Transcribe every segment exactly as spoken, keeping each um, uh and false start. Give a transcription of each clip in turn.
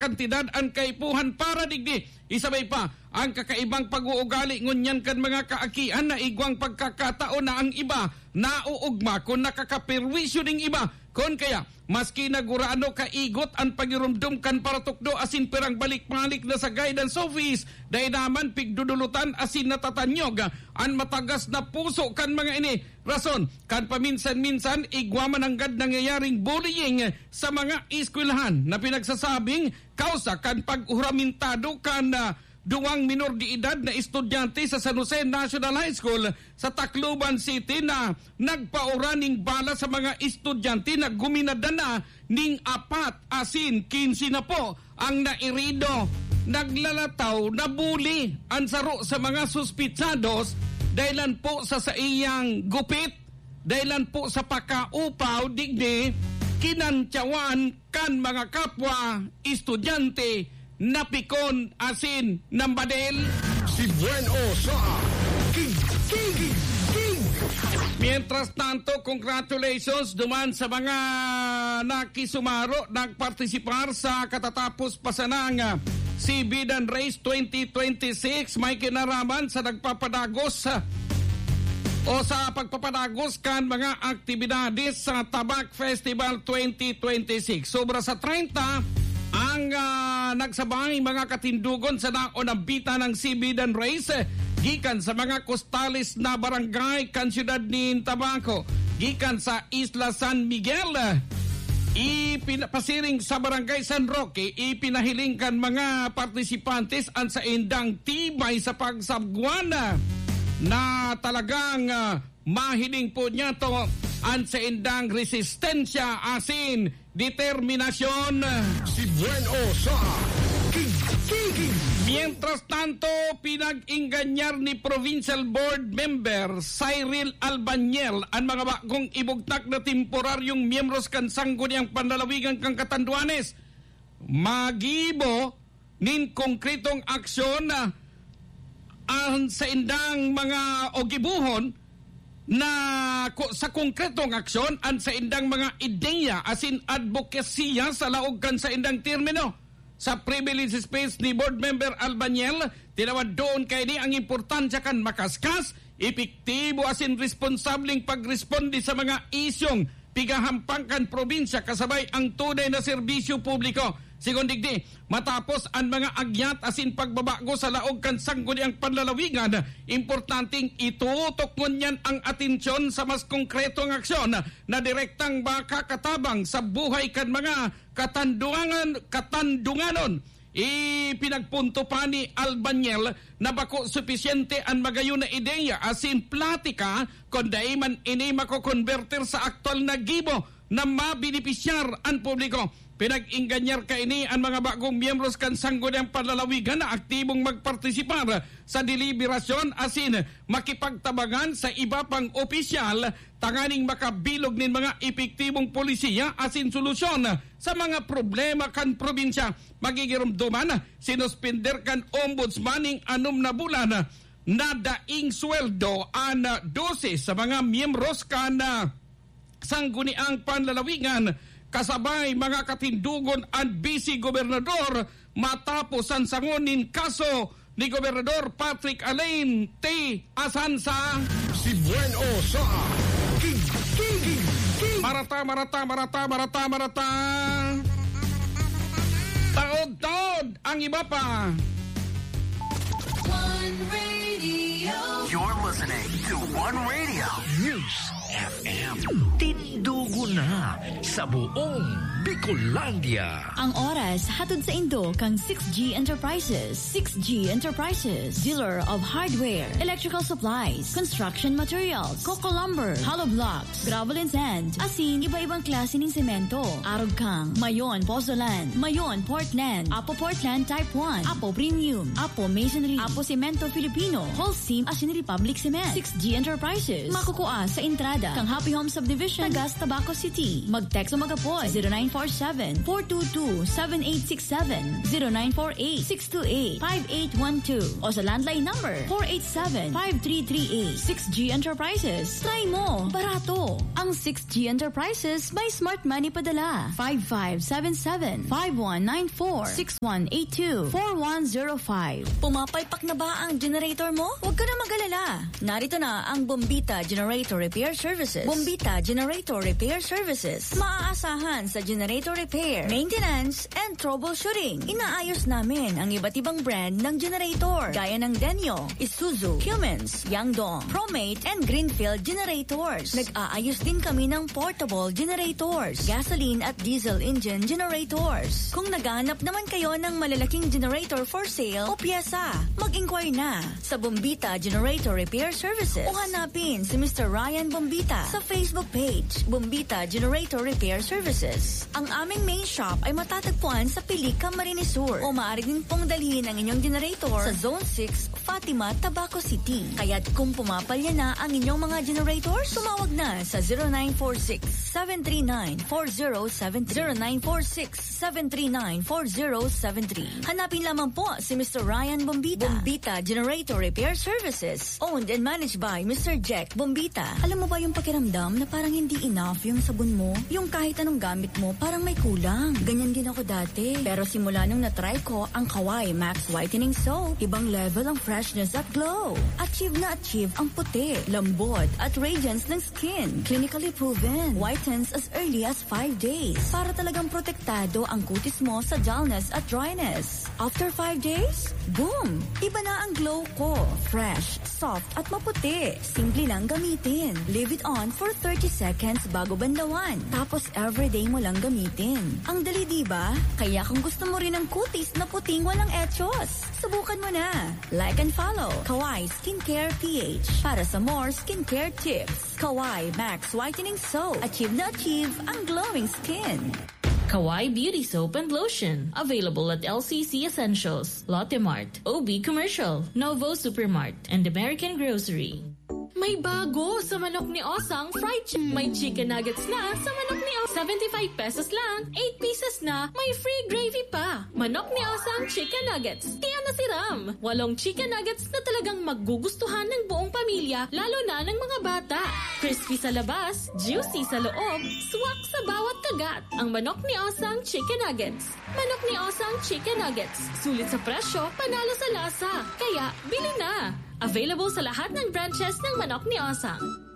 kantidad an kaipuhan para digdi. Isabay pa, ang kakaibang pag-uugali ngunyan kan mga kaakian na igwang pagkakataon na ang iba nauugma kun nakakaperwisyo ning iba. Kun kaya, maski na gurano kaigot an pagirumdom kan paratukdo asin pirang balik-balik na sa guidance office, dai naman pigdudulutan asin natatanyog an matagas na puso kan mga ini. Rason, kan paminsan-minsan, igwa man nanggad nangyayaring bullying sa mga eskwelahan na pinagsasabing kausa kan paghuramentado kan, ah, duwang minor de edad na estudyante sa San Jose National High School sa Tacloban City na nagpaura ning bala sa mga estudyante na guminadan na ning apat asin quince na po ang nairido. Naglalataw na bully an saro sa mga suspitsados dahilan po sa saiyang gupit, dahilan po sa pakaupaw, digdi kinantyawan kan mga kapwa estudyante, napikon asin nambadil. Si Buen O sa King, King, King. Mientras tanto, congratulations duman sa mga nakisumaro, nagpartisipar sa katatapos pa sanang, ah, Sibidan Race twenty twenty-six. May kinaraman sa nagpapadagos, ah, o sa pagpapadagos kan mga aktibidades sa Tabak Festival twenty twenty-six. Sobra sa treinta ang, ah, nagsabay mga katindugon sa naunambitan ng Sibidan Race, eh, gikan sa mga kostales na barangay kan siyudad nin Tabaco, gikan sa Isla San Miguel, eh, ipinapasiring sa Barangay San Roque, ipinahiling kan mga partisipantes an saindang tibay sa pagsabwan na talagang, ah, mahiling po niya to an saindang resistensya asin determinasyon. Si Buen O sa King, King, King. Mientras tanto, pinag-ingganyar ni Provincial Board Member Cyril Albanyel an mga bagong ibugtak na temporaryong miyembros kan Sangguniang Panlalawigan kan Catanduanes. Magibo nin konkretong aksyon, ah, an saindang mga o gibohon na ko-, sa konkretong aksyon an saindang mga ideya asin adbokasiya sa laog kan saindang termino. Sa privilege speech ni Board Member Albanyel, tinawad doon kaini ang importansya kan makaskas, epektibo asin responsableng pagresponde sa mga isyung pigahampang kan probinsya kasabay ang tunay na serbisyo publiko. Sigon digdi, matapos an mga agyat asin pagbabago sa laog kan Sangguniang Panlalawigan, importanteng itutok ngunyan ang atensyon sa mas konkretong aksyon na direktang makakatabang sa buhay kan mga katandungan-, katandunganon. Ipinagpunto pa ni Albanyel na bako supisyente an magayon na ideya asin platika kun dai man ini makokonbertir sa aktuwal na gibo na mabenepisyar an publiko. Pinag-ingganyar kaini an mga bagong miyembros kan Sangguniang Panlalawigan na aktibong magpartisipar sa deliberasyon asin makipagtabangan sa iba pang opisyal tanganing makabilog nin mga epektibong polisiya asin solusyon sa mga problema kan probinsya. Magigiromdoman, sinuspender kan Ombudsman ning anom na bulan na daing sweldo an dose sa mga miyembros kan, ah, Sangguniang Panlalawigan, kasabay mga katindugon an Vice Gobernador matapos an sangon nin kaso ni Gobernador Patrick Alain T. Asansa. Si Buen O sa King, King, King, King. Marata, marata, marata, marata, marata. Taod-taod ang iba pa. One Radio. You're listening to One Radio News F M. Tindugo na sa buong Bicolandia. Ang oras hatod saindo kan six G Enterprises. Six G Enterprises, dealer of hardware, electrical supplies, construction materials, coco lumber, hollow blocks, gravel and sand, asin iba-ibang klase ning semento. Arog kang Mayon Pozzolan, Mayon Portland, Apo Portland Type one, Apo Premium, Apo Masonry, Apo Semento Filipino, Whole Sim asin Republic Cement. Six G Enterprises. Makukua sa entrada kang Happy Home Subdivision, Tagas, Tabaco City. Mag-text o mag-apod zero nine four seven, four two two, seven eight six seven, zero nine four eight, six two eight, five eight one two, o sa landline number four eight seven, five three three eight. Six G Enterprises. Try mo. Barato. Ang Six G Enterprises may Smart Money Padala. Five five seven seven, five one nine four, six one eight two, four one zero five. Pumapalpak na ba ang generator mo? Huwag ka na mag-alala. Narito na ang Bombita Generator Repair Services. Bombita Generator Repair Services. Maaasahan sa generator repair, maintenance, and troubleshooting. Inaayos namin ang iba't ibang brand ng generator, gaya ng Denyo, Isuzu, Cummins, Yangdong, Promate, and Greenfield generators. Nag-aayos din kami ng portable generators, gasoline at diesel engine generators. Kung naghahanap naman kayo ng malalaking generator for sale o pyesa, mag-inquire na sa Bombita Generator Repair Services o hanapin si Mister Ryan Bombita sa Facebook page, Bombita Generator Repair Services. Ang aming main shop ay matatagpuan sa Pilica, Marinesur, o maaari din pong dalhin ang inyong generator sa Zone six, Fatima, Tabaco City. Kaya't kung pumapalya na ang inyong mga generator, tumawag na sa zero nine four six, seven three nine, four zero seven three, zero nine four six, seven three nine, four zero seven three. Hanapin lamang po si Mister Ryan Bombita. Bombita Generator Repair Services. Owned and managed by Mister Jack Bombita. Alam mo ba yung pakiramdam na parang hindi enough yung sabon mo? Yung kahit anong gamit mo, parang may kulang. Ganyan din ako dati. Pero simula nung na-try ko ang Kawai Max Whitening Soap, ibang level ang freshness at glow. Achieve na achieve ang puti, lambot, at radiance ng skin. Clinically proven. Whitens as early as five days. Para talagang protektado ang kutis mo sa dullness at dryness. After five days, boom! Iba na ang glow ko. Fresh, soft, at maputi. Simple lang gamitin. Leave it on for thirty seconds bago banlawan. Tapos everyday mo lang gamitin. Ang dali, di ba? Kaya kung gusto mo rin ng kutis na puting walang echos, subukan mo na. Like and follow Kawai Skincare P H para sa more skincare tips. Kawai Max Whitening Soap. Achieve na achieve ang glowing skin. Kawai Beauty Soap and Lotion. Available at L C C Essentials, Lotte Mart, O B Commercial, Novo Supermart, and American Grocery. May bago sa manok ni Osang fried chicken. May chicken nuggets na sa manok ni Osang. Seventy-five pesos lang, eight pieces na, may free gravy pa. Manok ni Osang chicken nuggets. Kaya nasiram. Walong chicken nuggets na talagang magugustuhan ng buong pamilya, lalo na ng mga bata. Crispy sa labas, juicy sa loob, swak sa bawat kagat. Ang manok ni Osang chicken nuggets. Manok ni Osang chicken nuggets. Sulit sa presyo, panalo sa lasa. Kaya, bili na! Available sa lahat ng branches ng Manok ni Osang.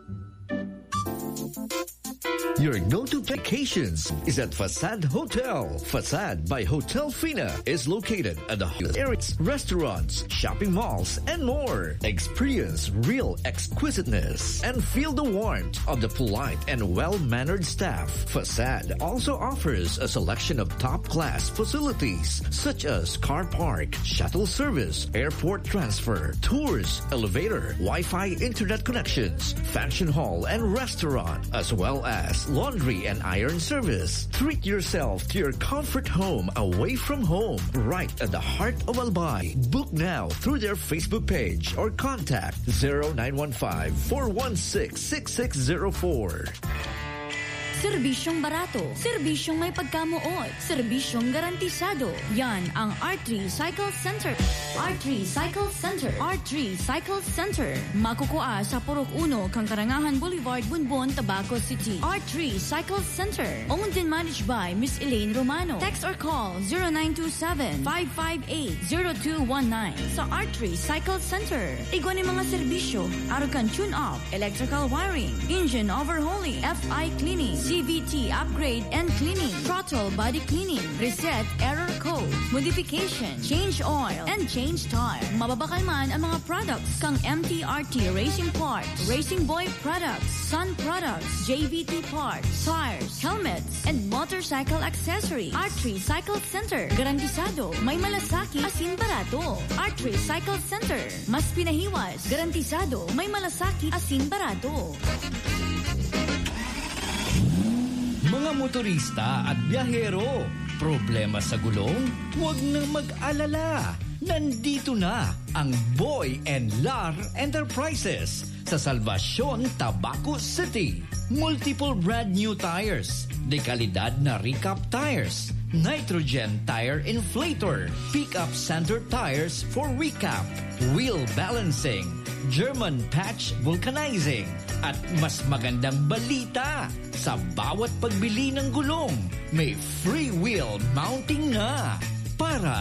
Your go-to vacations is at Facade Hotel. Facade by Hotel Fina is located at the hottest areas, restaurants, shopping malls, and more. Experience real exquisiteness and feel the warmth of the polite and well-mannered staff. Facade also offers a selection of top-class facilities such as car park, shuttle service, airport transfer, tours, elevator, Wi-Fi internet connections, function hall and restaurant, as well as laundry and iron service. Treat yourself to your comfort home away from home, right at the heart of Albay. Book now through their Facebook page or contact zero nine one five, four one six, six six zero four. Serbisyong barato, serbisyong may pagkamoot, serbisyong garantisado. Yan ang R three Cycle Center. R three Cycle Center. R three Cycle Center. Makukua sa Purok Uno, Kangkarangahan Boulevard, Bonbon, Tabaco City. R three Cycle Center. Owned and managed by Miss Elaine Romano. Text or call zero nine two seven, five five eight, zero two one nine. Sa R three Cycle Center, igwa nin mga serbisyo, arog kan tune-up, electrical wiring, engine overhauling, F I cleaning, C V T upgrade and cleaning, throttle body cleaning, reset error code, modification, change oil, and change tire. Mababakal man ang mga products kang M T R T Racing Parts, Racing Boy Products, Sun Products, J V T Parts, tires, helmets, and motorcycle accessories. R three Cycle Center. Garantisado, may malasakit asin barato. R three Cycle Center. Mas pinahiwas. Garantisado, may malasakit asin barato. Mga motorista at biyahero, problema sa gulong? Huwag nang mag-alala. Nandito na ang Boy and Lar Enterprises sa Salvacion, Tabaco City. Multiple brand new tires, de kalidad na recap tires, nitrogen tire inflator, pickup center tires for recap, wheel balancing, German patch vulcanizing, at mas magandang balita, sa bawat pagbili ng gulong, may free wheel mounting na. Para